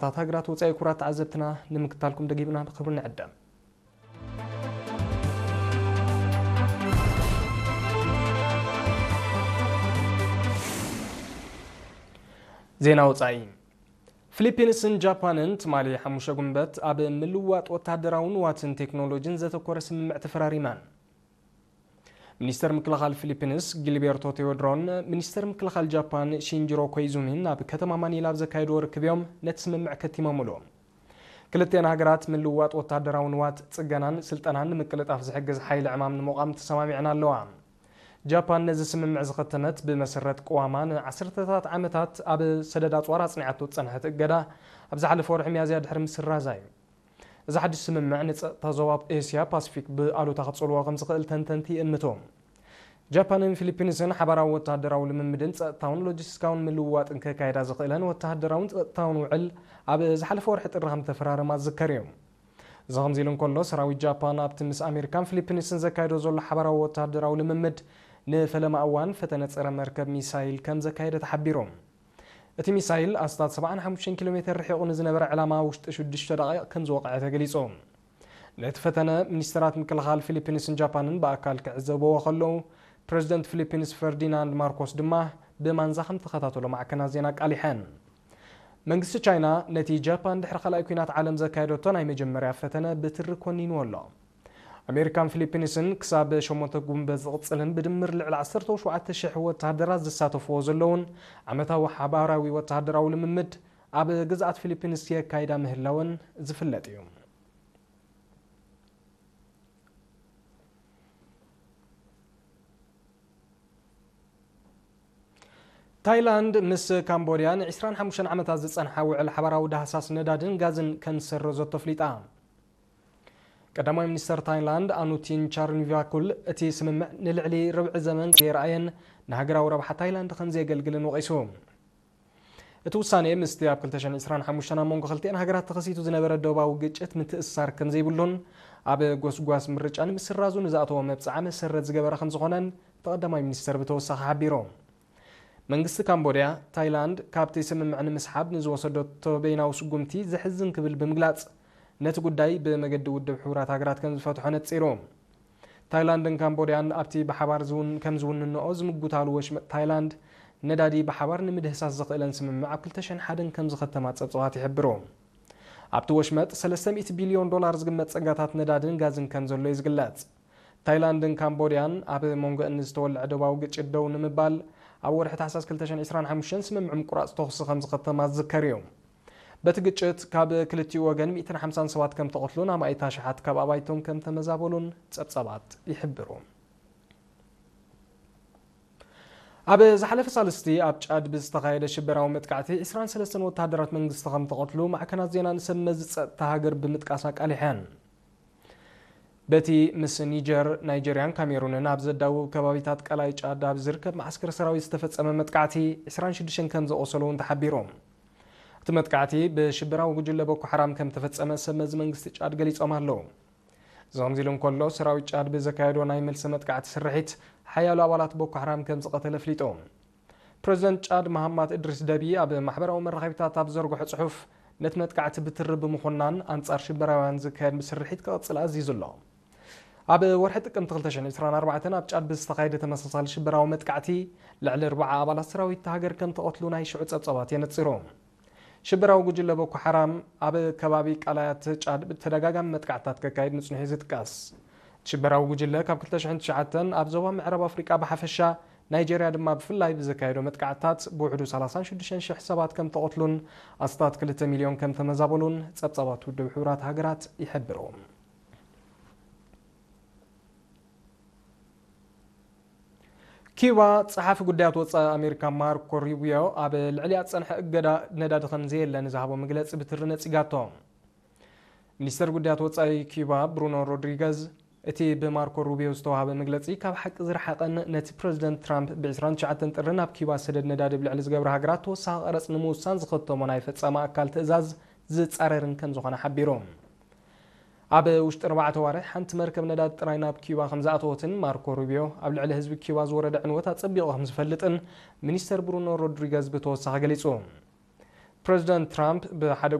ታት ሃገራት ወጻኢ ክቡራት ተዓዘብትና ንምክታልኩም ደጊምና ብኽብሪ ንዕደም። ዜና ወጻኢ። ፊሊፒንስን ጃፓንን ትማሊ ሓሙሽተ ጉንበት ኣብ ምልዋጥ ወተሃደራዊ ንዋትን ቴክኖሎጂን ዘተኮረ ስምምዕ ተፈራሪመን። ሚኒስተር ምክልኻል ፊሊፒንስ ጊልቤርቶ ቴዎድሮን ሚኒስተር ምክልኻል ጃፓን ሺንጅሮ ኮይዙሚን ኣብ ከተማ ማኒላ ኣብ ዘካየድዎ ርክብ እዮም ነቲ ስምምዕ ከቲሞምሉ። ክልቲአን ሃገራት ምልውዋጥ ወታደራዊ ንዋት፣ ጽገናን ስልጠናን ንምቅልጣፍ ዝሕግዝ ሓይሊ ዕማም ንምቋም ተሰማሚዐን ኣለዋ። ጃፓን ነዚ ስምምዕ ዝኸተመት ብመሰረት ቅዋማ ንዓሰርተታት ዓመታት ኣብ ሰደድ ኣጽዋር ኣጽኒዓቶ ዝጸንሐት እገዳ ኣብ ዝሓለፈ ወርሒ ሚያዝያ ድሕሪ ምስራዛ እዩ። እዚ ሓድሽ ስምምዕ ንጸጥታ ዞባ ኤስያ ፓሲፊክ ብኣሉታ ክጽልዎ ከም ዝኽእል ተንተንቲ ይእምቱ። ጃፓንን ፊሊፒንስን ሓባራዊ ወተሃደራዊ ልምምድን ጸጥታውን ሎጂስቲካውን ምልውዋጥን ከካይዳ ዝኽእለን ወተሃደራውን ጸጥታውን ውዕል ኣብ ዝሓለፈ ወርሒ ጥሪ ከም ተፈራረማ ዝዝከር እዩ። እዚ ከምዚ ኢሉ እንከሎ፣ ሰራዊት ጃፓን ኣብቲ ምስ ኣሜሪካን ፊሊፒንስን ዘካይዶ ዘሎ ሓባራዊ ወተሃደራዊ ልምምድ ንፈለማ እዋን ፈተነ ጸረ መርከብ ሚሳይል ከም ዘካየደ ተሓቢሩ። እቲ ሚሳይል ኣስታት ሰብዓን ሓሙሽተን ኪሎ ሜተር ርሒቑ ንዝነበረ ዕላማ ውሽጢ ሽዱሽተ ደቂቕ ከም ዝወቕዐ ተገሊጹ። ነቲ ፈተነ ሚኒስተራት ምክልኻል ፊሊፒንስን ጃፓንን ብኣካል ክዕዘብዎ ከለዉ፣ ፕረዚደንት ፊሊፒንስ ፈርዲናንድ ማርኮስ ድማ ብማንዛ ከም ተኸታተሎ ማዕከናት ዜና ኣቃሊሐን። መንግስቲ ቻይና ነቲ ጃፓን ድሕሪ ካልኣይ ኲናት ዓለም ዘካየደቶ ናይ መጀመርያ ፈተነ ብትሪ ኮኒንዎ ኣሎ። ኣሜሪካን ፊሊፒንስን ክሳብ ሸሞንተ ጉንበት ዝቕጽልን ብድምር ልዕሊ ዓሰርተ ሸውዓተ ሽሕ ወተሃደራት ዝሳተፍዎ ዘለውን ዓመታዊ ሓባራዊ ወተሃደራዊ ልምምድ ኣብ ግዝኣት ፊሊፒንስ የካይዳ ምህላወን ዝፍለጥ እዩ። ታይላንድ ምስ ካምቦድያ ን ዕስራን ሓሙሽተን ዓመታት ዝጸንሓ ውዕል ሓባራዊ ዳህሳስ ነዳድን ጋዝን ከም ዝሰረዞቶ ኣፍሊጣ። ቀዳማይ ሚኒስተር ታይላንድ ኣኑቲን ቻርንቪያኩል እቲ ስምምዕ ንልዕሊ ርብዒ ዘመን ከየርኣየን ንሃገራዊ ረብሓ ታይላንድ ከም ዘየገልግልን ወቒሱ። እቲ ውሳኔ ምስቲ ኣብ ክልተ ሽሕን ዕስራን ሓሙሽተን ኣብ መንጎ ክልቲአን ሃገራት ተኸሲቱ ዝነበረ ዶባዊ ግጭት ምትእስሳር ከም ዘይብሉን ኣብ ጎስጓስ ምርጫ ንምስራዙ ንዝኣተዎ መብጽዓ መሰረት ዝገበረ ከም ዝኾነን እቲ ቀዳማይ ሚኒስተር ብተወሳኺ ሓቢሩ። መንግስቲ ካምቦድያ፣ ታይላንድ ካብቲ ስምምዕ ንምስሓብ ንዝወሰደቶ በይናዊ ስጉምቲ ዘሕዝን ክብል ብምግላጽ፣ ነቲ ጉዳይ ብመገዲ ውድብ ሕቡራት ሃገራት ከም ዝፈትሖ ነጺሩ። ታይላንድን ካምቦድያን ኣብቲ ብሓባር ዝውን-፣ ከም ዝውንንኦ ዝምጉታሉ ወሽመጥ ታይላንድ፣ ነዳዲ ብሓባር ንምድህሳስ ዘኽእለን ስምምዕ ኣብ ክልተ ሽሕን ሓደን ከም ዝኸተማ ጸብጻባት ይሕብሩ። ኣብቲ ወሽመጥ ሰለስተ ሚእቲ ቢልዮን ዶላር ዝግመት ጸጋታት ነዳድን ጋዝን ከም ዘሎ እዩ ዝግለጽ። ታይላንድን ካምቦድያን ኣብ መንጎአን ዝተወልዐ ዶባዊ ግጭት ደው ንምባል ኣብ ወርሒ ታሕሳስ ክልተ ሽሕን ዕስራን ሓሙሽተን ስምምዕ ምቁራጽ ተኹሲ ከም ዝኸተማ ዝዝከር እዩ። በቲ ግጭት ካብ ክልቲኡ ወገን ሚእትን ሓምሳን ሰባት ከም ተቐትሉን ኣማኢት ኣሽሓት ካብ ኣባይቶም ከም ተመዛበሉን ጸብጻባት ይሕብሩ። ኣብ ዝሓለፈ ሳልስቲ ኣብ ጫድ ብዝተኻየደ ሽበራዊ መጥቃዕቲ ዕስራን ሰለስተን ወተሃደራት መንግስቲ ከም ተቐትሉ ማዕከናት ዜና ንሰብ መዚ ጸጥታ ሃገር ብምጥቃስ ኣቃሊሐን። በቲ ምስ ኒጀር፣ ናይጀርያን ካሜሩንን ኣብ ዘዳውብ ከባቢታት ቀላይ ጫድ ኣብ ዝርከብ መዓስከር ሰራዊት ዝተፈጸመ መጥቃዕቲ ዕስራን ሽዱሽተን ከም ዘቆሰሉ እውን ተሓቢሩ። እቲ መጥቃዕቲ ብሽበራዊ ጉጅለ ቦኮ ሓራም ከም ተፈጸመ ሰብ መዚ መንግስቲ ጫድ ገሊጾም ኣለዉ። እዚ ከምዚ ኢሉ እንከሎ፣ ሰራዊት ጫድ ብዘካየዶ ናይ መልሲ መጥቃዕቲ ስርሒት ሓያሎ ኣባላት ቦኮ ሓራም ከም ዝቐተለ ኣፍሊጡ። ፕረዚደንት ጫድ መሃማት እድሪስ ደቢ ኣብ ማሕበራዊ መራኸቢታት ኣብ ዘርግሖ ጽሑፍ፣ ነቲ መጥቃዕቲ ብትሪ ብምኹናን ኣንጻር ሽበራውያን ዝካየድ ስርሒት ክቕጽል ኣዚዙ ኣሎ። ኣብ ወርሒ ጥቅምቲ ክልተ ሽሕን ዕስራን ኣርባዕተን ኣብ ጫድ ብዝተኻየደ ተመሳሳሊ ሽበራዊ መጥቃዕቲ ልዕሊ ኣርባዓ ኣባላት ሰራዊት እታ ሃገር ከም ተቐትሉ ናይ ሽዑ ጸብጻባት የነጽሩ። ሽበራዊ ጉጅለ ቦኮ ሓራም ኣብ ከባቢ ቃላያት ጫድ ብተደጋጋሚ መጥቃዕትታት ከካይድ ምጽንሑ እዩ ዝጥቀስ። ሽበራዊ ጉጅለ ካብ ክልተ ሽሕን ትሽዓተን ኣብ ዞባ ምዕራብ ኣፍሪቃ ብሓፈሻ፣ ናይጀርያ ድማ ብፍላይ ብዘካየዶ መጥቃዕትታት ብውሕዱ ሰላሳን ሽዱሽተን ሽሕ ሰባት ከም ተቐትሉን ኣስታት ክልተ ሚልዮን ከም ተመዛበሉን ጸብጻባት ውድብ ሕቡራት ሃገራት ይሕብሩ። ኪዩባ፣ ጸሓፊ ጉዳያት ወጻኢ ኣሜሪካ ማርኮ ሩቢዮ ኣብ ልዕሊኣ ዝጸንሐ እገዳ ነዳዲ ከም ዘየለ ንዝሃቦ መግለጺ ብትሪ ነጺጋቶ። ሚኒስተር ጉዳያት ወጻኢ ኪዩባ ብሩኖ ሮድሪገዝ፣ እቲ ብማርኮ ሩቢዮ ዝተዋህበ መግለጺ ካብ ሓቂ ዝረሓቐን ነቲ ፕረዚደንት ትራምፕ ብ ዕስራን ትሽዓተን ጥሪ ናብ ኪዩባ ሰደድ ነዳዲ ኣብ ልዕሊ ዝገብራ ሃገራት ተወሳኺ ቀረጽ ንምውሳን ዝኸተሞ ናይ ፈጻሚ ኣካል ትእዛዝ ዝጻረርን ከም ዝኾነ ሓቢሩ። ኣብ ውሽጢ ኣርባዕተ ኣዋርሕ ሓንቲ መርከብ ነዳዲ ጥራይ ናብ ኪዩባ ከም ዝኣተወትን ማርኮ ሩቢዮ ኣብ ልዕሊ ህዝቢ ኪዩባ ዝወረደ ዕንወት ኣጸቢቑ ከም ዝፈልጥን ሚኒስተር ብሩኖ ሮድሪገዝ ብተወሳኺ ገሊጹ። ፕረዚደንት ትራምፕ ብሓደ